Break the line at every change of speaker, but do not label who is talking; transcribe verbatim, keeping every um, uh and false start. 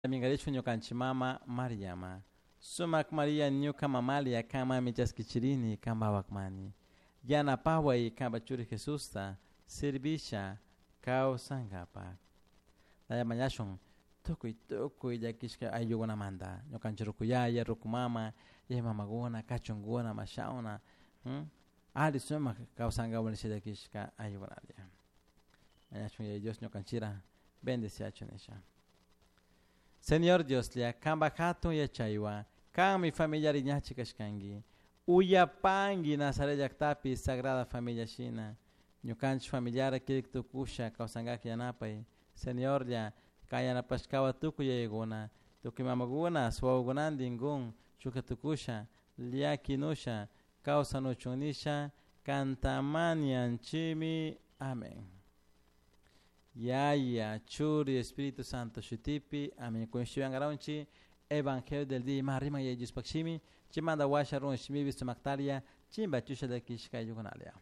Mingarichu ñukanchik mama Mariama. Sumak Maria ñuka mamalia kanmami chaskichirini kanpawakmani. Yanapaway kanpa churi Jesusta servisha kawsankapak. Naya mañashun tukuy tukuy llakishka ayllukunamanta ñukanchik rukuyaya, rukumama, yaya mamakuna, kachunkuna, mashawna, ali sumak kawsankapak nisha llakishka ayllukunalla. Mañashun Yaya Dios ñukanchira bendeciachun nisha. Señor Dioslla, kanpak hatun yachaywan, kanmi familiari ñachi kashkanki. Uyapanki Nazaret llaktapi Sagrada Familia shina. Ñukanchik familiara kirik tukusha kawsankak yanapay. Señorlla, kan yanapashkawan tukuy yayakuna, tukuy mamakuna, wawakunantin kun chuka tukusha, llakinusha, kawsanuchun nisha, kantamanianchimi. Amén. Yaya, Churi, Espíritu Santo shutipi, amén. Kunshiwangaronchi, Evangelio del día, ima riman Yaya Diospakshimi, chimanda washa run shimibi sumaktaria, chimba chusha llakishka ayllukunalia.